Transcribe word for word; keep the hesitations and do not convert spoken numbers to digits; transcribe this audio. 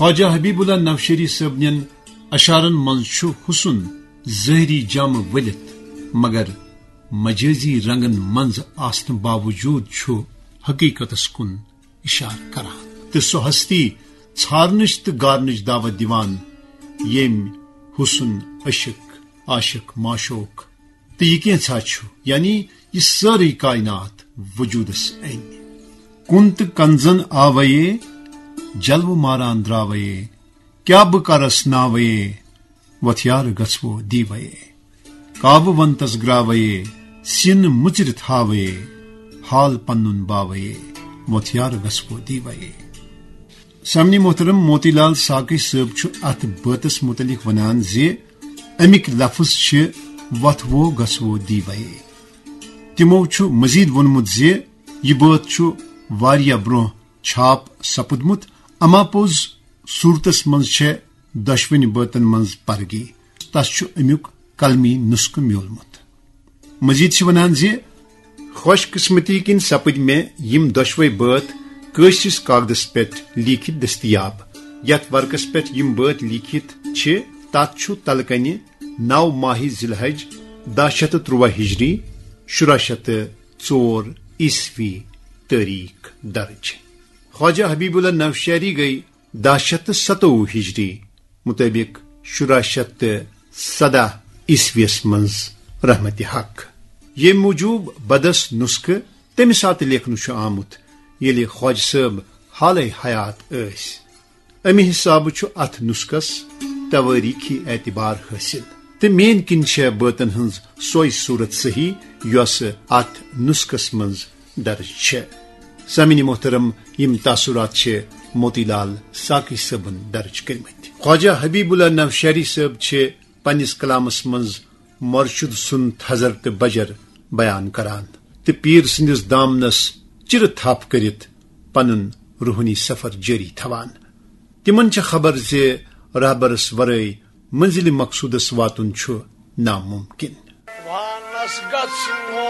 خواجہ حبیب اللہ نوشہری صٲبنٮ۪ن اشعارن منٛز چھُ حسن ظٲہری جامہٕ ؤلِتھ، مگر مجٲزی رنگن منٛز آسنہٕ باوجود چھُ حقیقتس کُن اشارٕ کران تہٕ سۄ ہستی ژھارنٕچ تہٕ گارنٕچ دعوت دِوان، ییٚمۍ حسن عشق، عاشق، معشوق تہٕ یہِ کینٛژھا چھُ، یعنی یہِ سٲرٕے کائنات وجودس أنۍ۔ کُن تہٕ کنزن آوے، جلوٕ ماران درٛاوے، کیٛاہ بہٕ کرس ناوے، وۄتھ یار گژھوو دیوے۔ کاوٕ ونتس گراوے، سِن مُژرِتھ ہاوے، حال پنُن باوے، وۄتھ یار گژھوو دیوے۔ سامعیٖن محترم، موتی لال ساقی صٲب چھُ اتھ بٲتس متعلق ونان زِ امیِکۍ لفظ چھِ وۄتھوو گژھوو دیوے۔ تِمو چھُ مزید ووٚنمُت زِ یہِ بٲتھ چھُ واریاہ برونٛہہ چھاپ سپُدمُت، اما پوٚز صورتس منٛز چھےٚ دۄشوٕنی بٲتن منٛز پرگی۔ تس چھُ امیُک قلمی نسخہٕ میوٗلمُت۔ مزید چھِ ونان زِ خوش قسمتی کِنۍ سپٕدۍ مےٚ یِم دۄشوے بٲتھ کٲشرِس کاغدس پٮ۪ٹھ لیٖکھِتھ دٔستیاب۔ یتھ ورقس پٮ۪ٹھ یِم بٲتھ لیٖکھِتھ چھِ، تتھ چھُ تلہٕ کنہِ نو ماہِ ذی الحج، دَہ شیٚتھ تہٕ تُرٛواہ ہجری، شُراہ شیٚتھ تہٕ ژور عیسوی تٲریخ درج۔ خواجہ حبیب اللہ نوشہری گٔے دَہ شیٚتھ تہٕ ستووُہ ہجری مطٲبق شُراہ شیٚتھ تہٕ سداہ عیسویس منٛز رحمت حق۔ ییٚمہِ موٗجوٗب بدس نسخہٕ تمہِ ساتہٕ لیکھنہٕ چھُ آمُت، ییٚلہِ خواجہ صٲب حالے حیات ٲسۍ۔ امہِ حسابہٕ چھُ اتھ نسخس توٲریخی اعتبار حٲصِل، تہٕ میٲنۍ کِنۍ چھےٚ بٲتن ہٕنٛز سۄے صورت صحیح، یۄس اتھ نسخس منٛز درج چھےٚ۔ سامعیٖن محترم، یِم تاثرات چھِ موتی لال ساقی صٲبن درج کٔرمٕتۍ۔ خواجہ حبیب اللہ نوشہری صٲب چھِ پننِس کلامس منٛز مرشد سُنٛد تھزر تہٕ بجر بیان کران تہٕ پیٖر سٕنٛدِس دامنس چِرٕ تھپھ کٔرِتھ پنُن روحٲنی سفر جٲری تھاوان۔ تِمن چھےٚ خبر زِ رہبرس ورٲے منزلِ مقصودس واتُن چھُ ناممکن۔ وانس گژھو